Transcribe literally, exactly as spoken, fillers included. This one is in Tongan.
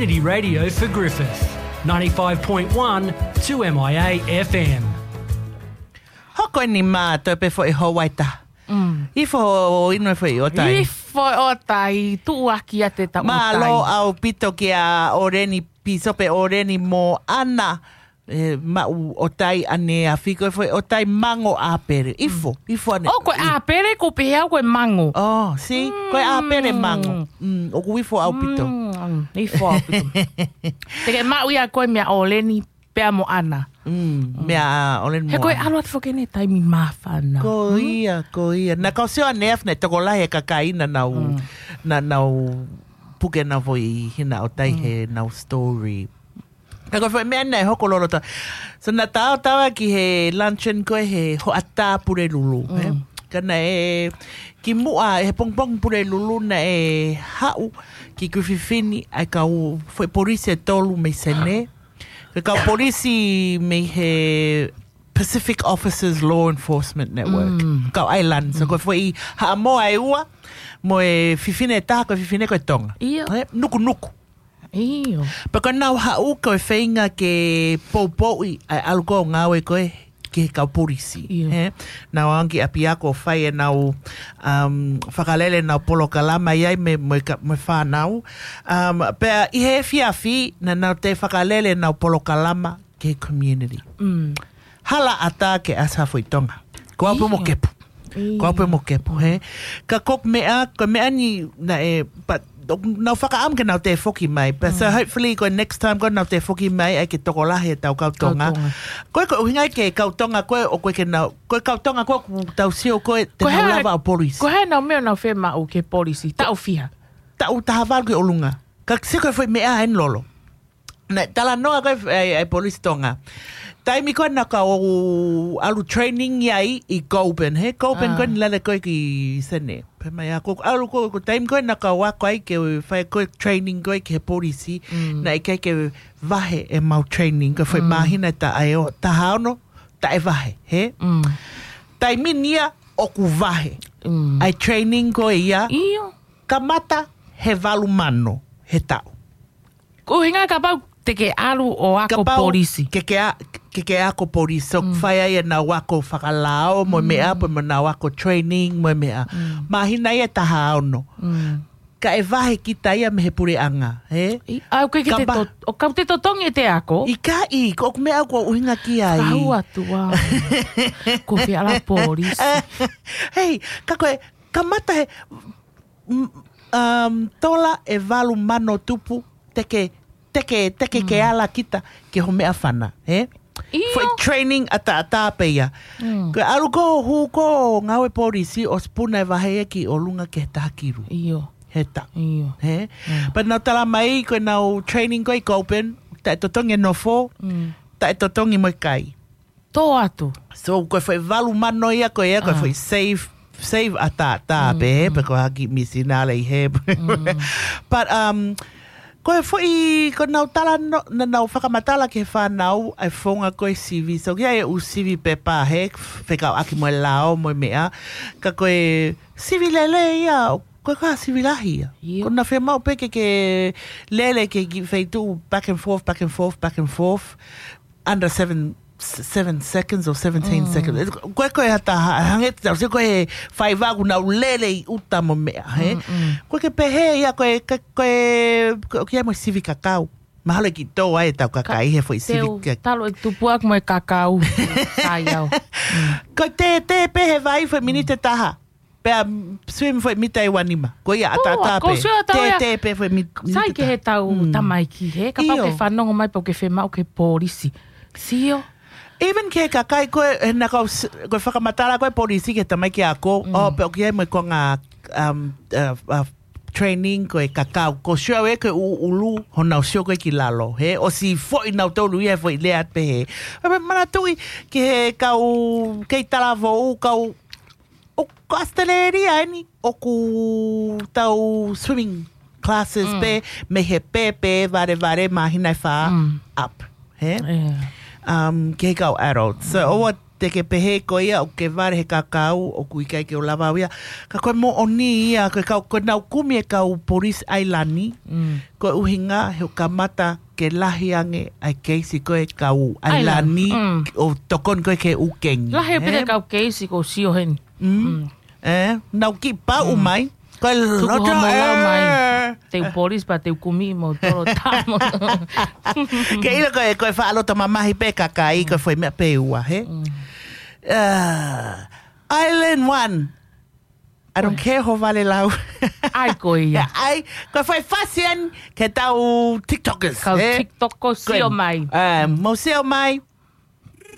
Community Radio for Griffith, ninety-five point one two M I A F M. Hoko eni mā toe pē foʻi houaita. Mm. Ifo inu e foʻi ʻotai. Ifo ʻotai, tuʻuaki ʻa te taʻu ʻotai. Mālō ʻaupito kia ʻOleni, Pīsope ʻOleni Moana. E, maʻu ʻotai ʻaneafi ko e foʻi ʻotai mango ʻāpele. Ifo, ifo ane. Oh, ko e ʻāpele ko pehē au ko e mango. Oh, see? Ko e ʻāpele mango. Mm, ʻoku ifo ʻaupito. Mm, ifo ʻaupito. Te ke maʻu ia ko e meʻa ʻOleni pea Moana. Mm, meʻa ʻOleni Moana. He ko e ʻalu atu foki ʻene taimi māfana. Ko ia, ko ia. Na kau sio ʻaneafi ne tokolahi e kakai naʻa nau, naʻa nau puke nau foʻi hina ʻotai he nau story. Ka ko e foʻi meʻa naʻe hoko loloto. So naʻa tau tau ki he luncheon ko e he hoʻatā Pulelulu. He? Ka naʻe ki muʻa he pongipongi Pulelulu naʻe haʻu ki Kuififini ʻa e kau foʻi polisi ʻe tolu mei Senē. Ko e kau polisi mei he Pacific Officers Law Enforcement Network. Kau ʻAilani. So ko e foʻi Haʻamoa ʻe ua, mo e fefine ʻe taha, ko e fefine ko e Tonga. He? Nukunuku. ʻIo. Pea ko ʻenau haʻu ko e feinga ke poupouʻi ʻa e ʻalu ko ē ʻo ngāue ko ē ki he kau polisi. ʻIo. He? Nau ʻalu ki ʻapiako ʻo fai ʻenau, um, fakalele ʻenau polokalama ʻi ai mo e, mo e ka-, mo e fānau. Um, pea ʻi he efiafi, naʻa nau toe fakalele ʻenau polokalama ki he community. Mm. Hala ʻatā ke ʻasi ha foʻi Tonga. Ko au pē mo Kepu. Ko au pē mo Kepu, he? Ka ko e meʻa, ko e meʻa ni naʻe, but, nau fakaʻamu ke nau toe foki mai. But so hopefully ko e next time ko ē nau toe foki mai ʻai ke tokolahi ʻetau kau Tonga. Ko e, ko e ʻuhinga ke kau Tonga ko ē ʻoku ʻikai ke nau, ko e kau Tonga ko ē ʻoku tau sio ko ē te nau lava ʻo polisi. Ko e hā ʻenau meʻa ʻoku nau fiemaʻu ke polisi? Taʻu fiha? Taʻu taha valu ki ʻolunga. Ka sio ko e foʻi meʻa ʻeni lolo. Naʻe talanoa ko ē ʻa e, ʻa e polisi Tonga. Taimi ko ē naʻa kau ʻalu training ai ʻi Goulburn, he? Goulburn ko eni lale ko ē ki Senē. Pea mai ʻa ko ʻalu ko, ko e taimi ko ē naʻa kau ako ai ke fai ko e training ko ē ki he polisi. Naʻe ʻikai ke vahe ʻemau training, ko e foʻi māhina ʻe taha ʻe o, taha ono, taʻe vahe, he? Taimi ni ia ʻoku vahe. ʻA e training ko ia. ʻIo. Kamata he valu mano he taʻu. Ko e ʻuhinga kapau te ke ʻalu ʻo ako polisi. Ke ke a-, ke ke ako polisi. So, fai ai ʻenau ako fakalao mo e meʻa, pea mo ʻenau ako training mo e meʻa. Māhina ia ʻe taha ono. Kae vahe kita ia mei he puleʻanga, he? ʻOku ʻikai ke te to-, ʻoku ʻikai te totongi ʻete ako. ʻIkai, ko e meʻa ʻoku ou ʻuhinga ki ai. Fakahua atu ā. Ko e fē ʻalu polisi. Hei, ka ko e, kamata he, um, tola ʻe valu mano tupu, te ke, te ke, te ke ke ala kita ki ho meʻa fana, he? ʻIo. Foʻi training ʻataʻatā pē ia. Ko e ʻalu ko ē ʻo hū ko ē ʻo ngāue polisi ʻosi puna e vahe ia ki ʻolunga ki he taha kilu. ʻIo. He taʻu. ʻIo. He? Pea nau tala mai ko ʻenau training ko ē ʻi Goulburn, taʻe totongi e nofo, taʻe totongi mo e kai. Tō atu. So, ko e foʻi valu mano ia ko ia, ko e foʻi save, save ʻataʻatā pē, he, pea ko e hā ki misinale ʻi he. But, um, ko e foʻi, ko ʻenau talanoa, naʻa nau fakamatala ki he fānau ʻa e founga ko e sivi. So, ki ai e ʻū sivi pepa, he, fekauʻaki mo e lao mo e meʻa. Ka ko e sivi lelei ia, ko e kā sivi lahi ia. ʻIo. Ko ʻena fiemaʻu pē ke ke lele ke ki feituʻu back and forth, back and forth, back and forth. Under seven, s-, seven seconds or seventeen seconds. Ko e, ko e hata, ha-, hangē te tau sio ko e faiva ʻoku nau lele ʻi ʻuta mo e meʻa, he? Ko e ke pehē ia, ko e, ko e, ko e, ko e kia mo e sivi kakau. Mahalo ʻe kiʻi tō ai ʻetau kakai he foʻi sivi. Talo e tupu aku mo e kakau. Sai au. Ko e tētē pē he vai foʻi miniti ʻe taha. Pea swim foʻi mita ʻe ua nima. Ko ia ʻataʻatā pē. Tētē pē foʻi mit-, sai ke he tau tamaiki, he? Kapau ke fanongo mai pau ke fiemaʻu ke polisi. Sio. Even ke kakai ko e, he naʻa kau s-, ko e fakamatala ko e polisi ke tamaiki ako. ʻO, pea ʻoku ʻi ai mo e konga, um, uh, uh, training ko e kakau. Ko sio ē ko e ʻū ʻulu, honau sio ko ē ki lalo. He, ʻosi foʻi nautolu ia foʻi lea pē he. Pea manatuʻi ki he kau, kei talavou, kau ʻo ko ʻAositelēlia eni ʻoku tau swimming classes pē mei he pēpē valevale māhina ʻe fā up, he? Um, ki he kau adults. So, ʻoua te ke pehē ko ia ʻoku ke vale he kakau, ʻoku ʻikai ke u lava au ia. Ka ko e moʻoni ia, ko e kau, ko e nau kumi e kau polisi ʻailani, ko e ʻuhinga he ʻoku kamata ke lahi ange ʻa e keisi ko e kau ʻailani, ʻo tokoni ko e ke ʻū kengi. Lahi pē kau keisi ko sio heni. ʻE, nau kiʻi paʻu mai. Ko e loto ʻe. Te u polisi pea te u kumi mo tolo tamo. Ke ʻilo ko e, ko e faʻa loto mamahi pē kakai, ko e foʻi meʻa pē ua, he? Island One. I don't care ho vale lau. ʻAi ko ia. ʻAi, ko e foʻi fashion ke tau TikTokers, kau TikTok ko sio mai. Mo sio mai.